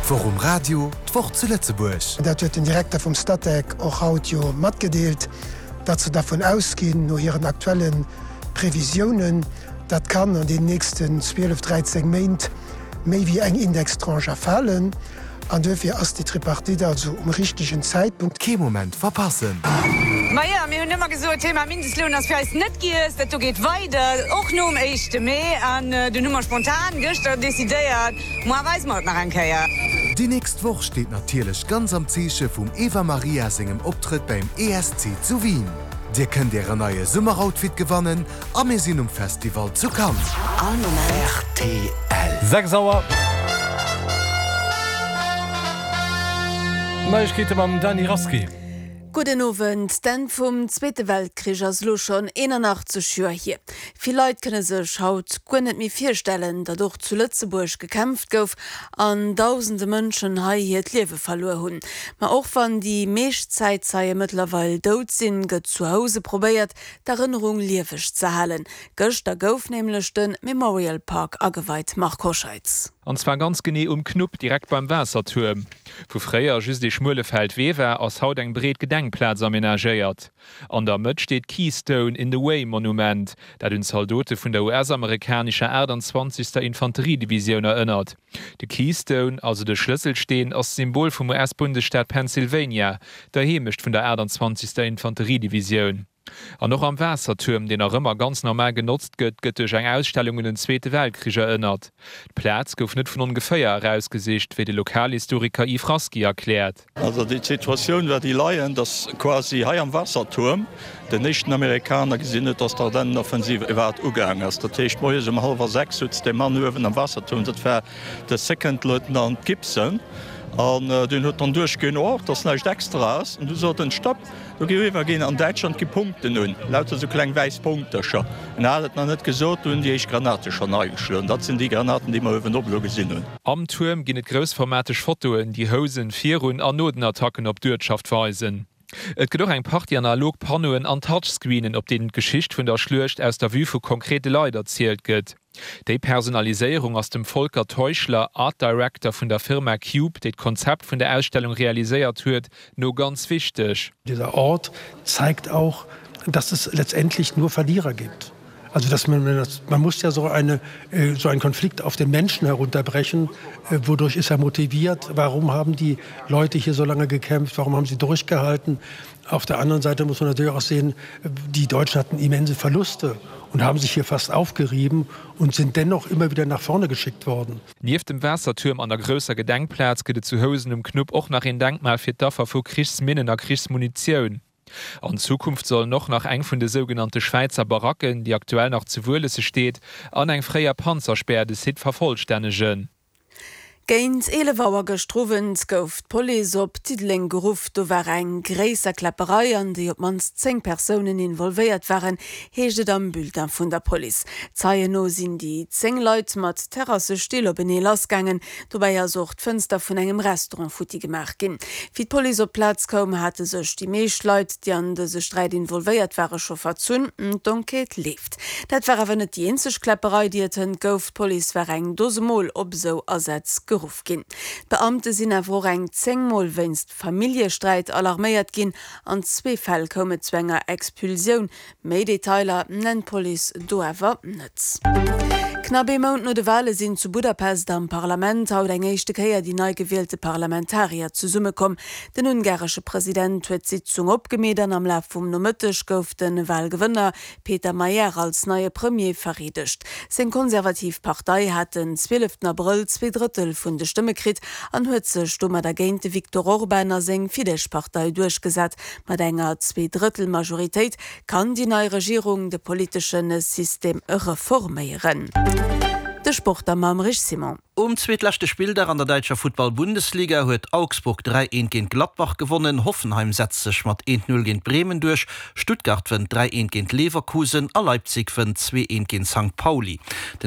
D'Woch um Radio, d'Woch zu Lëtzebuerg. Dat huet den Direkter vum Statec och haut jo matgedeelt, datt se dervun ausginn, no hiren aktuelle Previsiounen, datt kann an deenen nächsten 12, 13 Méint méi wéi eng Indextranche erfalen. An duerfir ass déi Tripartite also um richtegen Zäitpunkt. Kee Moment verpassen! Majo, mir hunn ëmmer gesot, Thema Mindestloun ass fir eis net giess, dat do geet weider, och nom éischte Mee. An dunn hu mer spontan gëschter decidéiert, Moar weise mer et nach eng Kéier. Déi nächst Woch steet natierlech ganz am Zeeche vum Eva Marija sengem Optrëtt beim ESC zu Wien. Dir kënnt ären neie Summeroutfit gewannen a mir sinn um Festival zu Cannes. All Moment. Rtl. 6 Auer. Neiegkeete mam Dany Rasqué. Gudden Owend. D'Enn vum Zweete Weltkrich ass elo schonn 81 Joer hier. Vill Leit kënne sech haut guer net méi virstellen, datt och zu Lëtzebuerg gekämpft gouf an dausende Mënschen hei hiert Liewe verluer hunn. Ma och wann déi meescht Zäitzeie mëttlerweil dout sinn, gëtt zu Housen probéiert, d'Erënnerung lieweg ze halen. Gëschter gouf nämlech de Memorial Park ageweit, Marc Hoscheitz. An zwar ganz genee um Knupp, direkt beim Waassertuerm. Wou fréier just ee schmuele Feldwee war, ass haut eng breet Gedenkplaz amenagéiert. An der Mëtt steet d'Keystone in the Way Monument, dat un d'Zaldote vun der US-amerikanescher 28. Infanteriedivisioun erënnert. De Keystone, also de Schlësselsteen, ass d'Symbol vum US-Bundesstaat Pennsylvania, der Heemecht vun der 28. Infanteriedivisioun. An och am Waassertuerm, deen nach ëmmer ganz normal genotzt gëtt, gëtt duerch eng Ausstellung un den Zweete Weltkrich erënnert. D'Plaz gouf net vun ongeféier erausgesicht, wéi de Lokalhistoriker Yves Rasqui erkläert. Also déi Situatioun war déi leiend, datt quasi hei am Waassertuerm den éischten Amerikaner gesinn huet, datt d'Ardennenoffensive iwwerhaapt ugaang ass. Dat heescht moies um hallwer 6 sutz dee Mann uewen am Waassertuerm, dat war de Second Lieutenant Gibson, an deen huet dann duerchginn, oh, et ass näischt Extraes, an du sot en, Stopp! Do gi eriwwer ginn. An Däitschland gi Punkten un, lauter esou kleng wäiss Punktercher. En hat et nach net gesot, do hunn déi éischt Granate schonn ageschloen. Dat sinn déi Granaten, déi mer uewenop elo gesinn hunn. Am Tuerm ginn et groussformateg Fotoen, déi Housen virun an no den Attacken op d'Uertschaft weisen. Et gëtt och eng Partie analog Panneauen an Touchscreenen, op deenen d'Geschicht vun der Schluecht aus der Vue vu konkrete Leit erzielt gëtt. Déi Personaliséierung ass dem Volker Teuchler, Art Director vun der Firma Cube, déi d'Konzept vun der Ausstellung realiséiert huet, no ganz wichteg. Dieser Ort zeigt auch, dass es letztendlich nur Verlierer gibt. Also dass man, man muss ja so eine, so einen Konflikt auf den Menschen herunterbrechen. Wodurch ist er motiviert? Warum haben die Leute hier so lange gekämpft? Warum haben sie durchgehalten? Auf der anderen Seite muss man natürlich auch sehen, die Deutschen hatten immense Verluste und haben sich hier fast aufgerieben und sind dennoch immer wieder nach vorne geschickt worden. Nieft dem Waassertuerm an der grousser Gedenkplaz gëtt et zu Housen um Knupp och nach een Denkmal fir d'Affer vu Krichsminnen a Krichsmunitioun. An Zukunft sollen och nach eng vun de sougenannte Schwäizer Baracken, déi aktuell nach zu Wuelesse steet, an eng fréier Panzerspär de Site vervollstännegen. Géint 11 Auer gëschter Owend gouf d'Police op Diddeleng geruff. Do war eng gréisser Kläpperei, an déi op d'mannst 10 Persounen involvéiert waren, heescht et am Bulletin vun der Police. Zeien no sinn déi 10 Leit mat Terrassestill openee lassgaangen. Dobäi ass och d'Fënster vun engem Restaurant futti gemaach ginn. Wéi d'Police op d'Plaz koum, hate sech déi meescht Leit, déi an dëse Sträit involvéiert ware scho verzunn. D'Enquête leeft. Dat war awer net déi eenzeg Kläpperei, déi et hënt gouf. D'Police war eng Dose Mol op esou Asätz geruff ginn. D'Beamte sinn awer och eng 10 Mol wéinst Familljesträit alarméiert ginn. An zwee Fäll koum et zu enger Expulsioun. Méi Detailer nennt d'Police do awer net. Knapp ee Mount no de Wale sinn zu Budapest am Parlament haut eng éischte Kéier déi nei gewielte Parlamentarier zesummekomm. Den ungaresche President huet d'Sitzung opgemeet an am Laf vum Nomëtteg gouf de Walgewënner Péter Magyar als neie Premier vereedegt. Seng konservativ Partei hat den 12 Abrëll zweedrëttel vun de Stëmme kritt an huet sech domadder géint de Viktor Orban a seng Fidesz-Partei duerchgesat. Mat enger Zweedrëttel-Majoritéit kann déi nei Regierung de politesche System reforméieren. De Sport da mam Rich Simon. Um zweetleschte Spilldag an der däitscher Futtball-Bundesliga huet Augsburg 3, 1 géint Gladbach gewonnen, Hoffenheim setzt sech mat 1, 0 géint Bremen duerch, Stuttgart wënnt 3, 1 géint Leverkusen a Leipzig wënnt 2, 1 géint Sankt Pauli.